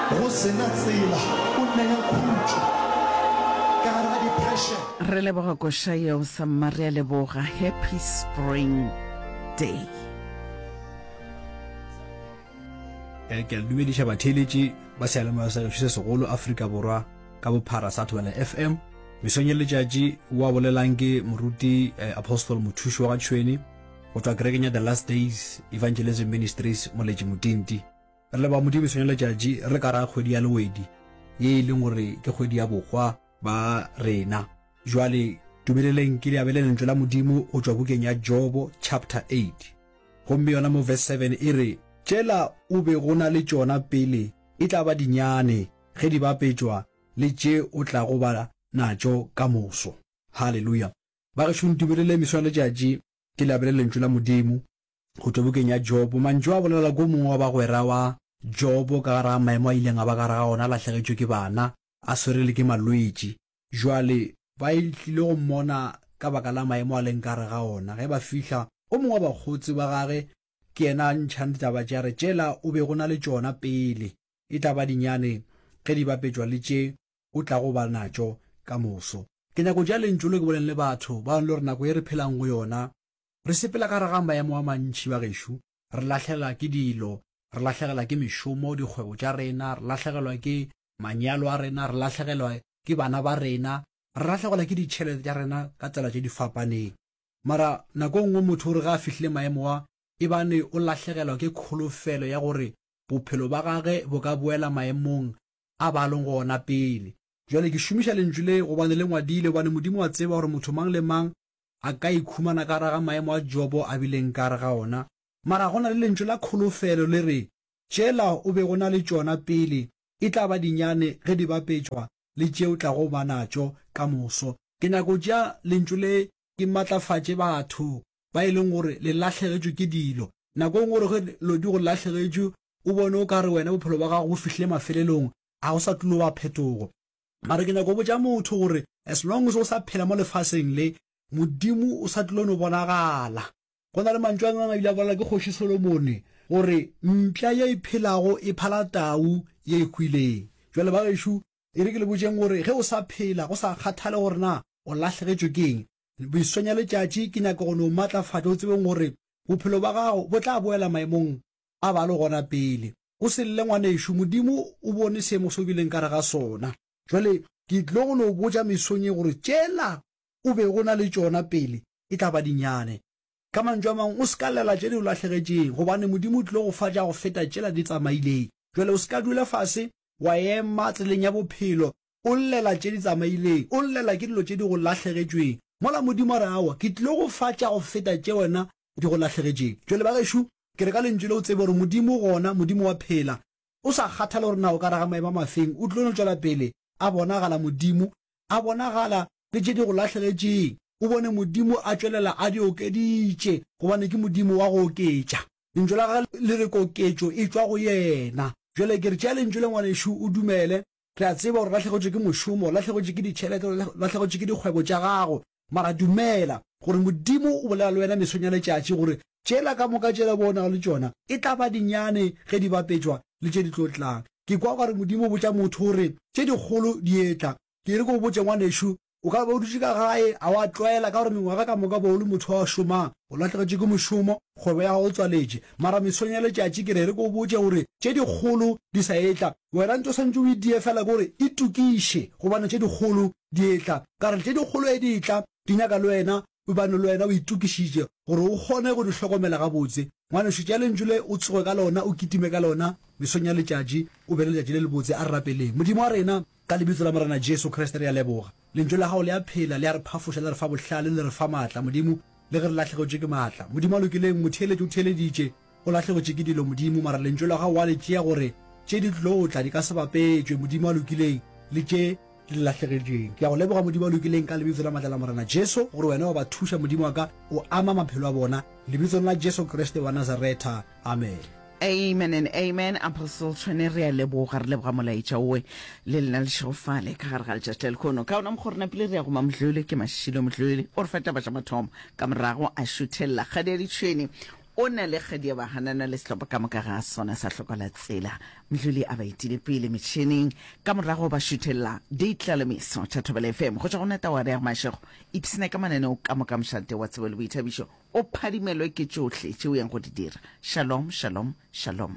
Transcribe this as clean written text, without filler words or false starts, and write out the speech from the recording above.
Go se na tsela, o nea khutšo ka gare ga depression. Re leboga koša yeo samma re a leboga happy spring day. Eh, ke a le dumediša batheeletši ba seyalemoya sa gešo se segolo Afrika Borwa ka bophara sa Thobela FM. Mesong ya letšatši wa bolelang ke moruti eh, Apostle Mothuši wa ga Tšhweni go tšwa kerekeng ya The Last Days Evangelism Ministries Moletši Motinti. Re leboga Modimo mesong ya letšatši re le ka gare ga kgwedi ya Lewedi ye e leng gore ke kgwedi ya bohwa ba rena. Jwale dumeleleng ke le abele lentšu la Modimo go tšwa bukeng ya Jobo chapter 8. Gomme yona mo verse 7 e re, Tšela o bego na le tšona pele e tla ba dinyane ge di bapetšwa le tše o tlago ba natšo ka moso. Haleluya! Bagešo ntumeleleng mesong ya letšatši ke le abele lentšu la Modimo go tšwa bukeng ya Jobo. Mantšu a bolela ko mongwe wa bagwera wa Jobo ka gare ga maemo a ileng a ba ka gare ga ona, a lahlegetšwe ke bana, a swere le ke malwetši. Jwale ba tlile go mmona ka baka la maemo a leng ka gare ga ona. Ge ba fihla, o mongwe wa bakgotsi ba gage ke yena a ntšhang ditaba tše, a re, Tšela o bego na le tšona pele e tla ba dinyane ge di bapetšwa le tše o tlago ba natšo ka moso. Ke nyako tšea lentšu le ke boleng le batho ba le gore nako ye re phelang go yona, Re sepela ka gare ga maemo a mantši, bagešo. Re lahlegelwa ke dilo, re lahlegelwa ke mešomo, dikgwebo tša rena, re lahlegelwa ke manyalo a rena, re lahlegelwa ke bana ba rena, re lahlegelwa ke ditšhelete tša rena ka tsela tše di fapaneng. Mara nako e nngwe motho o re ge a fihlile maemo a, e bane o lahlegelwa ke kholofelo ya gore bophelo ba gage bo ka boela maemong a ba leng go ona pele. Bjale ke šomiša lentšu le gobane le ngwadile, gobane Modimo wa tseba gore motho mang le mang a ka ikhumana ka gare ga maemo a Jobo a bileng ka gare ga ona. Mara go na le lentšu la kholofelo le re, Tšela o bego na le tšona pele e tla ba dinyane ge di bapetšwa le tše o tlago ba natšo ka moso. Ke nyaka go tšea lentšu le ke matlafatše batho ba e leng gore le lahlegetšwe ke dilo. Nako e nngwe o re ge dilo di go lahlegetšwe o bone o ka re wena bophelo bja gago bo fihlile mafelelong, ga go sa tlilo ba phetogo. Mara ke nyaka go botša motho gore as long as o sa phela mo lefaseng le, Modimo o sa tlilo no bonagala. Go na le mantšu a mangwe a ile a bolela ke Kgoši Solomone gore mpša ye e phelago e phala tau ye e hwileng. Bjale ba gešo, e re ke le botšeng gore ge o sa phela, go sa kgathale gore na o lahlegetšwe ke eng, mesong ya letšatši ke nyaka go no matlafatša o tsebeng gore bophelo ba gago bo tla boela maemong a ba le gona pele. O se lle ngwanešu, Modimo o bone seemo se o bileng ka gare ga sona. Jwale ke tlilo go no botša mesong ye gore tšela o bego o na le tšona pele e tla ba dinyane. Ka mantšu a mangwe, o se ka llela tše di o lahlegetšeng, gobane Modimo o tlilo go fa tša go feta tšela di tsamaileng. Jwale o se ka dula fase wa ema tseleng ya bophelo o llela tše di tsamaileng, o llela ke dilo tše di go lahlegetšweng, mola Modimo a re, Aowa, ke tlilo go fa tša go feta tše wena di go lahlegetšeng. Jwale ba gešo, ke re ka lentšu le o tsebe gore Modimo o gona, Modimo wa phela. O sa kgathale gore na o ka raga maemo a mafeng, o tlilo no tšwela pele a bonagala Modimo, a bonagala le tše di go lahlegetšeng. O bone Modimo a tšwelela a di okeditše, gobane ke Modimo wa go oketša. Lentšu la gagwe le re koketšo e tšwa go yena. Jwale ke re tšea lentšu le ngwanešu o dumele. Re a tseba gore o lahlegetšwe ke mošomo, o lahlegetšwe ke ditšhelete, o lahlegetšwe ke dikgwebo tša gago, mara dumela gore Modimo o bolela le wena mesong ya letšatši gore tšela ka moka tšela bo o nago le tšona e tla ba dinyane ge di bapetšwa le tše di tlo tlang. Ke kwa o ka re Modimo o botša motho gore tše dikgolo di etla. Ke re ke go botše ngwanešu, O ka ba o dutše ka gae, a wa tlwaela ka gore mengwaga ka moka bo o le motho wa šomang, o lahlegetšwe ke mošomo, kgwebo ya gago e tswaletše. Mara mesong ya letšatši ke re re ke o botše gore tše dikgolo di sa etla. Wena ntho o swanetše o e die fela ke gore itokiše gobane tše dikgolo di etla. Ka re tše dikgolo ge di etla di nyaka le wena o bane le wena o itokišitše gore o kgone go di hlokomela gabotse. Ngwanešu tšea lentšu le o tsoge ka lona o kitime ka lona mesong ya letšatši o be le letšatši le lebotse. A re rapeleng. Modimo wa rena, Ka Lebitso la Morena Jesu Kriste re a leboga. Lentšu la Gago le a phela, le a re phafoša, le re fa bohlale, le re fa maatla, Modimo, le ge re lahlegetšwe ke maatla. Modimo a lokileng, motheeletši o theeleditše, o lahlegetše ke dilo, Modimo, mara Lentšu la Gago wa le tšea gore tše di tlo tla di ka se bapetšwe, Modimo a lokileng, le tše di le lahlegetšeng. Ke a Go leboga, Modimo a lokileng, ka Lebitso la maatla la Morena Jesu, gore Wena wa ba thuša, Modimo wa ka, o ama maphelo a bona, Lebitsong la Jesu Kriste wa Nazaretha. Amen. Amen and amen Apostle Tshwene re a leboga re leboga molaetša owe le lena le šegofale ka gare ga letšatši la lekhono ka ona mokgwa rena pele re ya go mamdlole ke Mashilo Mdlole o re fa taba tša mathomo ka morago a šuthelela kgadi ya ditšhwene. O na le kgadi ya bahanana le sehlopha ka moka ga sona sa hlokola tsela. Mdluli a ba etile pele metšheneng, ka morago ba šuthelela ditlalemeso tša Thobela FM. Go tšwa go Nataware ya Mashego, ipshina ka mananeo ka moka mošate wa tsebo le boithabišo, o phadimelwe ke tšohle tše o yang go di dira. Shalom, shalom, shalom.